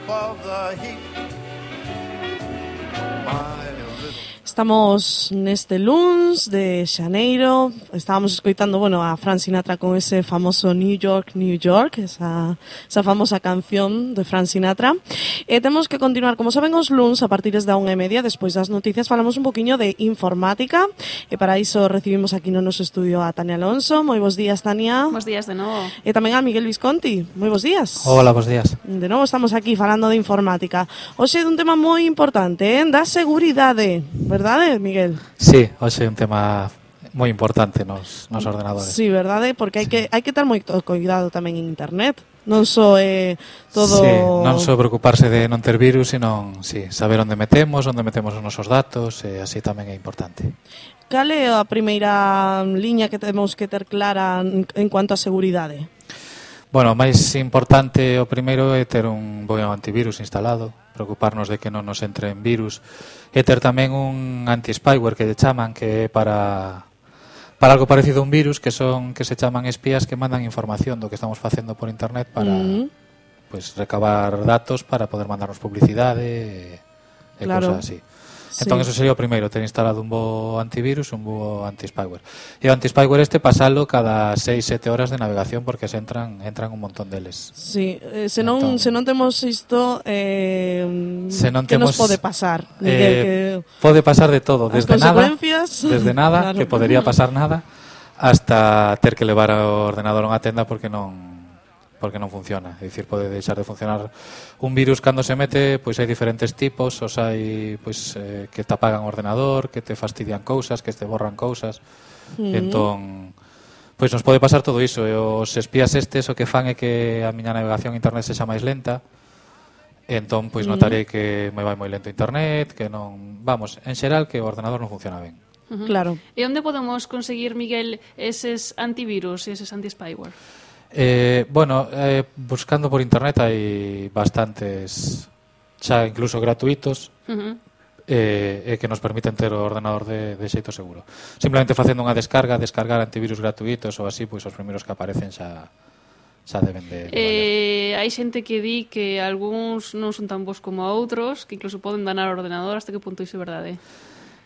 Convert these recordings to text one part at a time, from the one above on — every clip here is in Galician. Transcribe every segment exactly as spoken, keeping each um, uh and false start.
of the heat. My Estamos neste luns de xaneiro. Estábamos escoitando, bueno, a Frank Sinatra con ese famoso New York, New York, esa, esa famosa canción de Frank Sinatra. E temos que continuar, como saben, os luns a partir da unha e media, despois das noticias, falamos un poquinho de informática. E para iso recibimos aquí no noso estudio a Tania Alonso. Moi bons días, Tania. Bos días de novo. E tamén a Miguel Visconti. Moi bons días. Hola, bons días. De novo estamos aquí falando de informática. Hoxe é un tema moi importante, eh? Da seguridade, verdade, Miguel? Sí, hoxe é un tema moi importante nos, nos ordenadores. Sí, verdade, porque hai sí. que hai que ter moito cuidado tamén en internet. Non só é eh, todo... Sí, non só preocuparse de non ter virus, sino sí, saber onde metemos, onde metemos os nosos datos, e así tamén é importante. Cal é a primeira liña que temos que ter clara en cuanto a seguridade? Bueno, o máis importante, o primeiro, é ter un bo antivirus instalado, preocuparnos de que non nos entren virus, e ter tamén un anti-spyware que lle chaman, que é para para algo parecido a un virus, que son que se chaman espías que mandan información do que estamos facendo por internet para mm. pues, recabar datos para poder mandarnos publicidade e, e claro. cousas así. Sí. Entón, eso sería o primeiro, ter instalado un bo antivirus, un bo anti-spyware. E o anti-spyware este pasalo cada seis sete horas de navegación, porque se entran entran un montón deles. Sí, eh, se, non, entón, se non temos isto, eh, se non que temos, nos pode pasar? Eh, que, pode pasar de todo, desde nada, desde nada, claro. que podería pasar nada, hasta ter que levar o ordenador a unha tenda porque non porque non funciona. É dicir, pode deixar de funcionar un virus cando se mete, pois hai diferentes tipos, os hai pois eh, que te apagan o ordenador, que te fastidian cousas, que te borran cousas. Mm. Entón, pois nos pode pasar todo iso, e os espías estes o que fan é que a miña navegación a internet sexa máis lenta. Entón, pois notarei mm. que me vai moi lento internet, que non, vamos, en xeral que o ordenador non funciona ben. Uh-huh. Claro. E onde podemos conseguir, Miguel, eses antivirus e eses anti-spyware? Eh, bueno, eh, buscando por internet hai bastantes, xa incluso gratuitos, uh-huh. eh, eh, que nos permiten ter o ordenador de, de xeito seguro. Simplemente facendo unha descarga, descargar antivirus gratuitos ou así, pois os primeiros que aparecen xa xa deben de, de eh, hai xente que di que algúns non son tan bons como outros, que incluso poden danar o ordenador. Hasta que punto iso é verdade?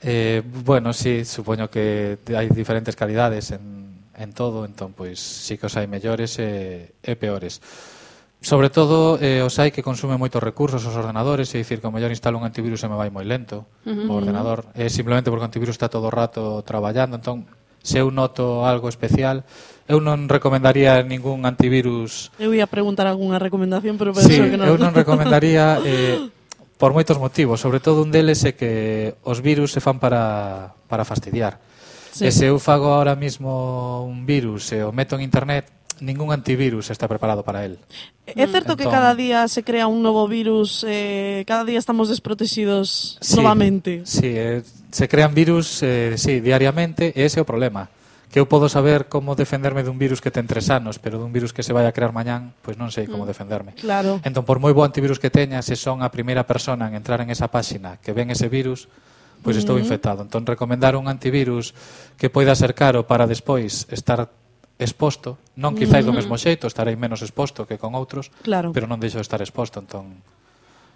Eh, bueno, sí, supoño que hai diferentes calidades en en todo, entón, pois, sí que os hai mellores e, e peores. Sobre todo, eh, os hai que consume moitos recursos os ordenadores, é dicir, que o mellor instalo un antivirus e me vai moi lento uh-huh. o ordenador, é simplemente porque o antivirus está todo o rato traballando, entón, se eu noto algo especial, eu non recomendaría ningún antivirus... Eu ia preguntar algunha recomendación, pero penso sí, que non. eu non recomendaría... Eh, por moitos motivos, sobre todo un deles é que os virus se fan para, para fastidiar. Sí. E se eu fago ahora mismo un virus e o meto en internet, ningún antivirus está preparado para él. É certo entón, que cada día se crea un novo virus, eh, cada día estamos desprotegidos sí, novamente. Sí, eh, se crean virus eh, sí, diariamente, e ese é o problema. Que eu podo saber como defenderme dun virus que ten tres anos, pero dun virus que se vai a crear mañán, pois non sei como mm, defenderme. Claro. Entón, por moi bo antivirus que teña, se son a primeira persona en entrar en esa páxina que ven ese virus, pois estou uh-huh. infectado. Entón, recomendar un antivirus que poida ser caro para despois estar exposto, non quizáis uh-huh. do mesmo xeito, estarei menos exposto que con outros, claro. pero non deixo de estar exposto, entón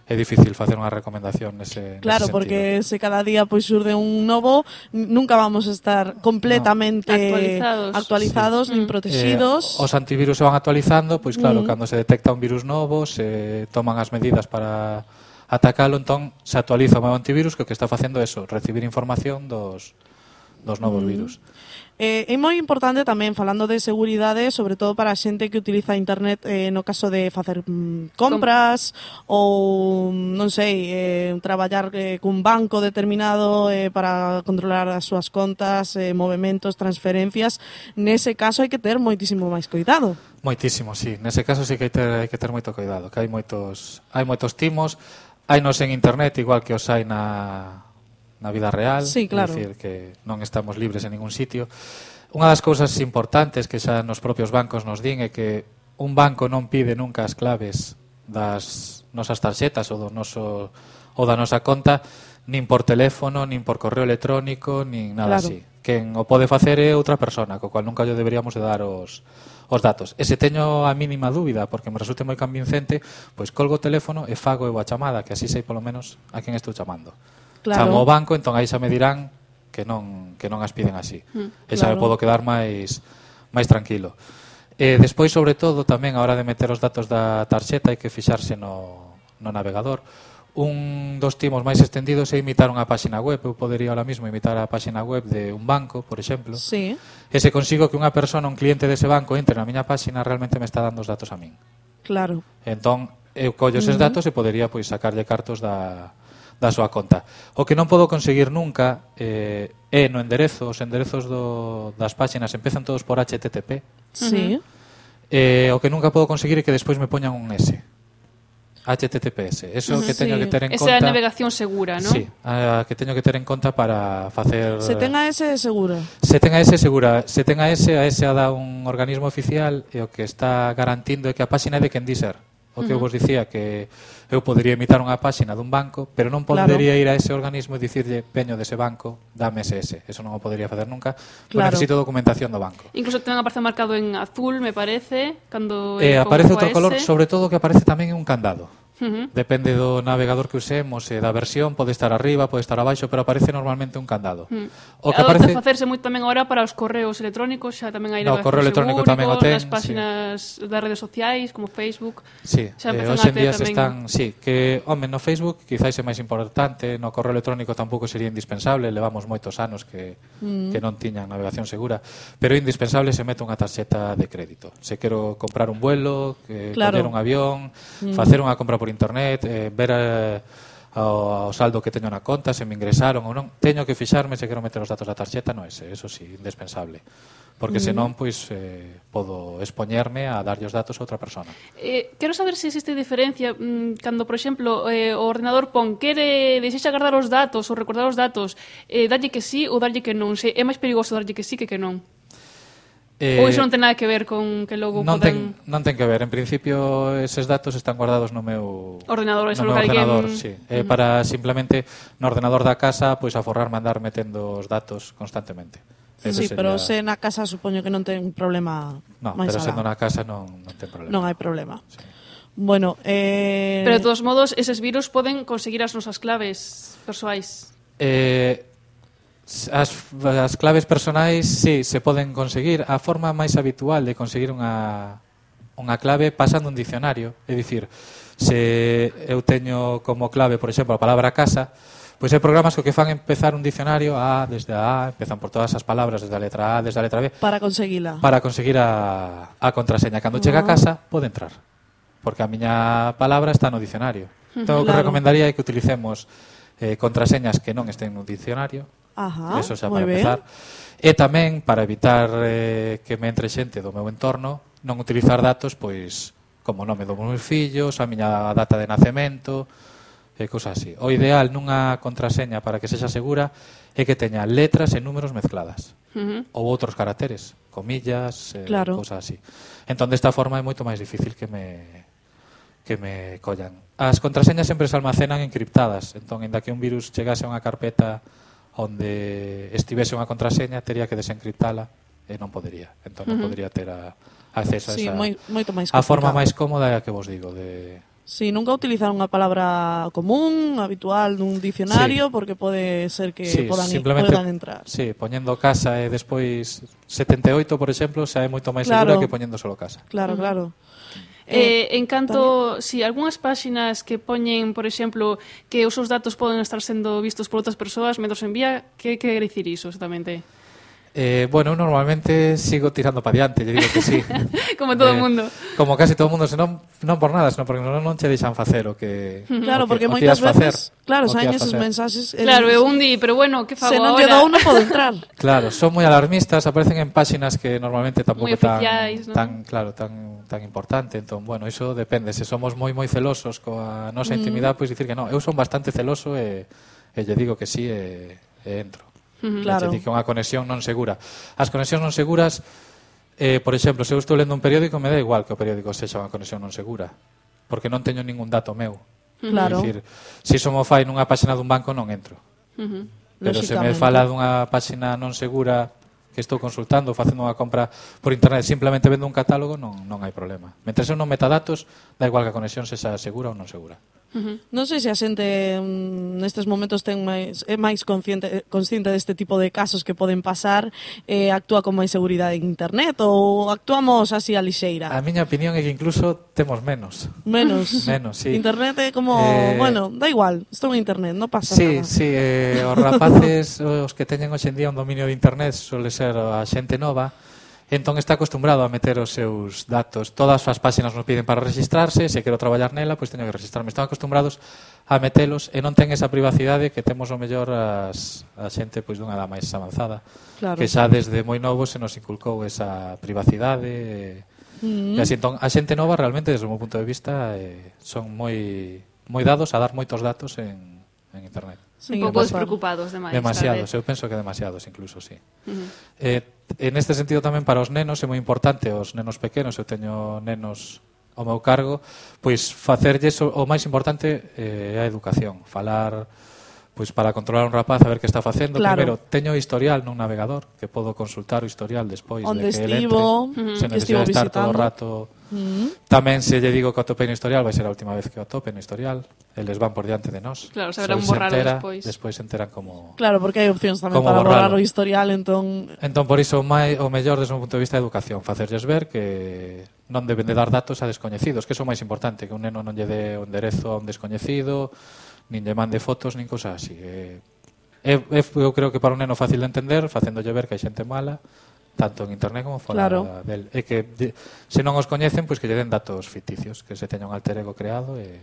é difícil facer unha recomendación nese, claro, nese porque se cada día pois surde un novo, nunca vamos a estar completamente no. actualizados, actualizados sí. nin protegidos. Eh, os antivirus se van actualizando, pois claro, uh-huh. cando se detecta un virus novo, se toman as medidas para atacalo, entón se actualiza o meu antivirus, que o que está facendo é eso, recibir información dos, dos novos mm. virus. Eh, é moi importante tamén, falando de seguridade, sobre todo para a xente que utiliza internet eh, no caso de facer mm, compras Com... ou, non sei, eh, traballar eh, cun banco determinado eh, para controlar as súas contas, eh, movementos, transferencias. Nese caso hai que ter moitísimo máis cuidado. Moitísimo, sí. Nese caso sí que hai, ter, hai que ter moito cuidado, que hai moitos, hai moitos timos, hai nos en internet igual que os hai na... na vida real, sí, claro. É dicir que non estamos libres en ningún sitio. Unha das cousas importantes que xa nos propios bancos nos din é que un banco non pide nunca as claves das nosas tarxetas ou do noso ou da nosa conta nin por teléfono, nin por correo electrónico, nin nada claro. así. quen o pode facer é outra persona, co cual nunca lle deberíamos de dar os, os datos. E se teño a mínima dúbida, porque me resulte moi convincente, pois colgo o teléfono e fago eu a chamada, que así sei polo menos a quen estou chamando. Claro. Chamo ao banco, entón aí xa me dirán que non, que non as piden así. Mm, e xa claro. me podo quedar máis, máis tranquilo. E despois, sobre todo, tamén a hora de meter os datos da tarxeta hai que fixarse no, no navegador. Un dos timos máis extendidos é imitar unha páxina web. Eu podería ahora mismo imitar a páxina web de un banco, por exemplo. Sí. E se consigo que unha persona, un cliente dese banco, entre na miña páxina, realmente me está dando os datos a min. Claro. Entón, eu collo eses Uh-huh. datos e podería pois sacarlle cartos da, da súa conta. O que non podo conseguir nunca eh, é no enderezo. Os enderezos do, das páxinas empezan todos por H T T P. Sí. Eh, o que nunca podo conseguir é que despois me poñan un S. H T T P S. Eso que teño Sí. que ter en Esa conta. é a navegación segura, non? Sí, a que teño que ter en conta para facer. Se tenga ese, seguro. Se ten a ese segura, se ten a ese, a ese a dá un organismo oficial e o que está garantindo é que a páxina é de quen di ser. O que eu vos dicía que eu podería imitar unha páxina dun banco, pero non podería Claro. ir a ese organismo e dicirlle veño dese banco, dame ese ese. Eso non o podería facer nunca, porque Claro. necesito documentación do banco. Incluso tamén aparece marcado en azul, me parece, cando E é aparece con outro ese. color, sobre todo que aparece tamén en un candado. Uh-huh. Depende do navegador que usemos e da versión, pode estar arriba, pode estar abaixo, pero aparece normalmente un candado. Mm. O que Adoita aparece facerse moito tamén agora para os correos electrónicos, xa tamén hai No, navegación correo electrónico seguro, tamén o ten, nas páxinas das redes sociais como Facebook. Sí, Xa eh, empezan hoxe a en ter día se tamén- están, sí, que, home, no Facebook quizáis é máis importante, no correo electrónico tampouco sería indispensable, levamos moitos anos que, mm. que non tiñan navegación segura, pero é indispensable se mete unha tarxeta de crédito. Se quero comprar un vuelo, que Claro. coller un avión, mm. facer unha compra por internet, eh, ver eh, ao, ao saldo que teño na conta, se me ingresaron ou non, teño que fixarme se quero meter os datos da tarxeta no ese, eso sí, indispensable. Porque Mm. senón, pois, eh, podo expoñerme a darlle os datos a outra persona. Eh, quero saber se existe diferencia mm, cando, por exemplo, eh, o ordenador pon quere desexa guardar os datos ou recordar os datos, eh, darlle que sí ou darlle que non. Se é máis perigoso darlle que sí que que non. Eh, Ou iso non ten nada que ver con que logo non poden... ten, non ten que ver. En principio, eses datos están guardados no meu Ordenador, no eso meu lo que alguén- ordenador, sí. Eh, Ujú. para simplemente no ordenador da casa, pois aforrarme a andar metendo os datos constantemente. Ese Sí, pero se sería- na casa supoño que non ten problema No, máis pero alá. sendo na casa non, non ten problema. Non hai problema. Bueno, eh... Pero de todos modos, eses virus poden conseguir as nosas claves persoais. Eh, as, as claves personais, sí, se poden conseguir. A forma máis habitual de conseguir unha, unha clave pasando un dicionario. É dicir, se eu teño como clave, por exemplo, a palabra casa, pois hai programas que o que fan empezar un dicionario A desde a A, empezan por todas as palabras desde a letra A, desde a letra B, para conseguila. para conseguir a, a contraseña. Cando chega a casa, pode entrar, porque a miña palabra está no dicionario. Entón, o que Claro. recomendaría é que utilicemos eh, contraseñas que non estén no dicionario. Ajá, Eso xa moi para ben. empezar. E tamén, para evitar eh, que me entre xente do meu entorno, non utilizar datos, pois, como o nome dos meus fillos, a miña data de nacemento, e cousas así. O ideal nunha contraseña para que sexa segura é que teña letras e números mezcladas. Uh-huh. Ou outros caracteres, comillas, eh, Claro. cousas así. Entón, desta forma é moito máis difícil que me que me collan. As contraseñas sempre se almacenan encriptadas, entón, inda que un virus chegase a unha carpeta onde estivese unha contraseña, tería que desencriptala e non podería. Entón, non Ujú. podría ter a, acceso a Sí, esa... moi, moito máis a forma complicado. máis cómoda é a que vos digo, de... Sí, nunca utilizar unha palabra común, habitual nun dicionario, porque pode ser que Sí, podan, simplemente, podan entrar. Sí, poñendo casa e despois setenta e oito, por exemplo, xa é moito máis Claro. segura que poñendo solo casa. Claro, claro. Eh, en canto, si algunhas páxinas que poñen, por exemplo, que os seus datos poden estar sendo vistos por outras persoas mentre os envía, que quere dicir iso exactamente? Eh, bueno, eu normalmente sigo tirando para diante, lle digo que sí. Como todo o Eh, mundo. Como casi todo o mundo, senón non por nada, senón porque non, non che deixan facer o que Claro, o que, porque o que moitas ias facer, veces, claro, o que saen ias esos facer. mensaxes. el- Claro, eu un di, pero bueno, que fago Se non lle agora? dou, non podo entrar. Claro, son moi alarmistas, aparecen en páxinas que normalmente tampouco Moi tan, oficiais, non? tan claro, tan tan importante, entón, bueno, iso depende, se somos moi moi celosos coa nosa intimidade, pois dicir que non, eu son bastante celoso e e lle digo que sí e, e entro. Ujú. Claro. Claro. Que é unha conexión non segura. As conexións non seguras, eh, por exemplo, se eu estou lendo un periódico, me dá igual que o periódico sexa unha conexión non segura, porque non teño ningún dato meu. Claro. É dicir, se iso mo fai nunha páxina dun banco, non entro. Ujú. Pero se me Lóxicamente. fala dunha páxina non segura que estou consultando, facendo unha compra por internet, simplemente vendo un catálogo, non, non hai problema. Mentre son non metadatos, dá igual que a conexión sexa segura ou non segura. Uh-huh. Non sei se a xente mm, nestes momentos ten máis, é máis consciente, consciente deste tipo de casos que poden pasar, eh, actúa con máis seguridade en internet ou actuamos así a lixeira? A miña opinión é que incluso temos menos. Menos. Menos, sí. Internet é como, Eh, bueno, da igual, estou en internet, non pasa Sí, nada. sí, eh, os rapaces, os que teñen hoxe en día un dominio de internet, suele ser a xente nova, entón está acostumbrado a meter os seus datos. Todas as páxinas nos piden para registrarse, se quero traballar nela, pois teño que registrarme. Están acostumbrados a metelos e non ten esa privacidade que temos o mellor as, a xente pois dunha edad máis avanzada. Claro. Que xa desde moi novo se nos inculcou esa privacidade. Mm. E así, entón, a xente nova realmente, desde o meu punto de vista, eh, son moi moi dados a dar moitos datos en, en internet. Sí, Un pouco pasa. despreocupados demais. Demasiados, tal eu penso que demasiados incluso, sí. vez. Uh-huh. Eh, en este sentido tamén para os nenos é moi importante, os nenos pequenos, eu teño nenos ao meu cargo, pois facerlles o, o máis importante eh, é a educación, falar pois para controlar un rapaz a ver que está facendo. Claro. Primeiro, teño historial nun navegador que podo consultar o historial despois Onde de que estivo, ele entre, uh-huh, sen que estivo necesidade de estar todo o visitando. rato. Mm. Tamén se lle digo que o atope no historial, vai ser a última vez que o atope no historial. Eles van por diante de nós. Claro, Se saberán el se borralo entera, despois. Despois se enteran como... Claro, porque hai opcións tamén Como para borrar borralo. o historial, entón... Entón, por iso, o, mai, o mellor desde un punto de vista de educación, facerlles ver que non deben de dar datos a descoñecidos, que é o máis importante, que un neno non lle dé o enderezo a un descoñecido, nin lle mande fotos, nin cosas así. É, é, é, eu creo que para un neno fácil de entender, facéndolle ver que hai xente mala, tanto en internet como fora Claro. del. E que, de, se non os coñecen, pois que lle den datos ficticios, que se teña un alter ego creado e,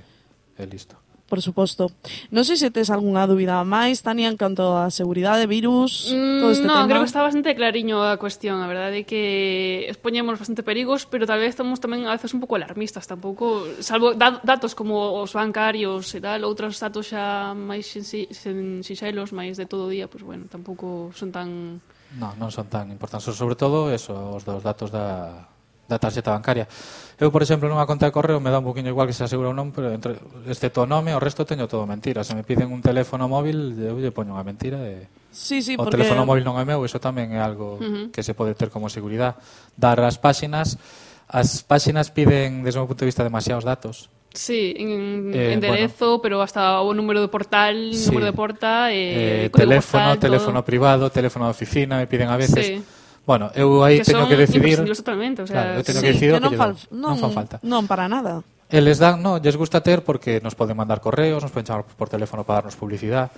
e listo. Por suposto. Non sei se tes algunha dúbida máis, Tania, en canto a seguridade, virus, Mm, todo este no, tema. creo que está bastante clariño a cuestión, a verdade é que expoñemos bastante perigos, pero tal vez estamos tamén a veces un pouco alarmistas, tampouco, salvo da, datos como os bancarios e tal, outros datos xa máis sensi, sen, sinxelos, máis de todo o día, pois pues, bueno, tampouco son tan... No, non son tan importantes, sobre todo eso, os dos datos da, da tarxeta bancaria. Eu, por exemplo, nunha conta de correo me dá un poquinho igual que se asegura ou non, pero entre, excepto o nome, o resto teño todo mentira. Se me piden un teléfono móvil, eu lle poño unha mentira e... Sí, sí, o porque... teléfono móvil non é meu, eso tamén é algo Uh-huh. que se pode ter como seguridade. Dar as páxinas, as páxinas piden, desde o meu punto de vista, demasiados datos. Sí, en Eh, enderezo, bueno. pero hasta o número de portal, Sí. número de porta, eh, Eh, código teléfono, postal, teléfono todo. privado, teléfono de oficina, me piden a veces... Sí. Bueno, eu aí Que teño son que decidir... imprescindibles totalmente, o sea, Claro, eu teño Sí, que decidir o que non, lle fal, dou. non, non fan falta. non para nada. Eles dan, no, lles gusta ter porque nos poden mandar correos, nos poden chamar por teléfono para darnos publicidade.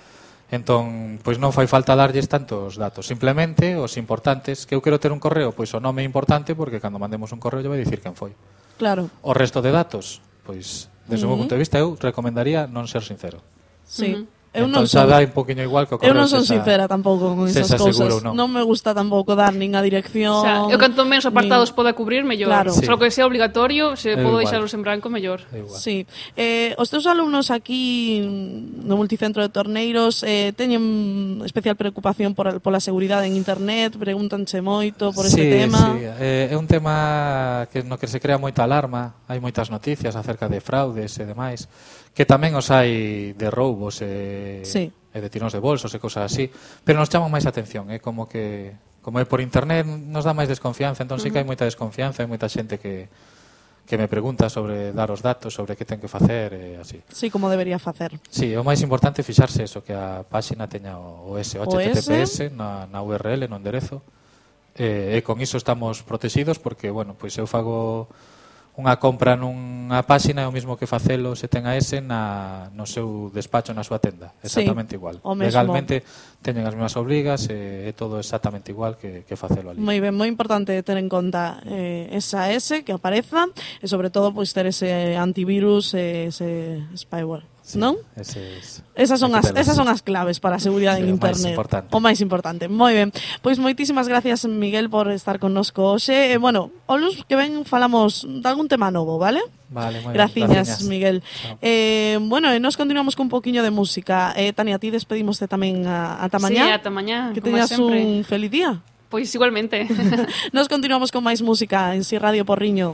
Entón, pois non fai falta darlles tantos datos. Simplemente os importantes, que eu quero ter un correo, pois o nome é importante porque cando mandemos un correo lle vai dicir quen foi. Claro, O resto de datos, pois, desde o meu Ujú. punto de vista, eu recomendaría non ser sincero. sí. Ujú. Eu entón non xa son, dá un poquinho igual que o eu correo non son sexa- sincera tampouco con esas sexa cousas. seguro ou non. Non me gusta tampouco dar nin a dirección. O sea, eu canto menos apartados nin... poda cubrir, mellor. Claro. Sí. Só que sea obligatorio, se É podo igual. deixalos en branco, mellor. É igual. Sí. Eh, os teus alumnos aquí no Multicentro de Torneiros eh, teñen especial preocupación por, pola seguridade en internet, pregúntanche moito por este sí, tema. Sí, eh, é un tema que no que se crea moita alarma, hai moitas noticias acerca de fraudes e demais, que tamén os hai de roubos e, Sí. e de tiróns de bolsos e cosas así, pero nos chaman máis atención, é como que como é por internet nos dá máis desconfianza, entón sí que hai moita desconfianza, hai moita xente que que me pregunta sobre dar os datos, sobre que ten que facer e así. Sí, como debería facer. Sí, o máis importante é fixarse eso, que a páxina teña o, o S, o O H T T P S S. na, na U R L, no enderezo. E, e con iso estamos protegidos porque, bueno, pois eu fago unha compra nunha páxina é o mismo que facelo se ten a S na, no seu despacho, na súa tenda. Exactamente Sí, igual. o mesmo. Legalmente teñen as mesmas obrigas e é todo exactamente igual que, que facelo ali. Moi ben, moi importante ter en conta eh, esa S que apareza e sobre todo pois ter ese antivirus e ese spyware, Sí, non? ese es, Esas son hai as que telas. esas son as claves para a seguridade Sí, en o máis internet. importante. O máis importante. Moi ben. Pois moitísimas gracias, Miguel, por estar connosco hoxe. E bueno, o luz que ven falamos de algún tema novo, vale? Vale, moi ben, Graciñas, graciñas. Miguel. Chao. Eh, bueno, e nos continuamos con un poquinho de música. Eh, Tania, a ti despedimos tamén a, ata mañá. Sí, ata mañá, Que como teñas sempre. un feliz día. Pois igualmente. Nos continuamos con máis música en Si Radio Porriño.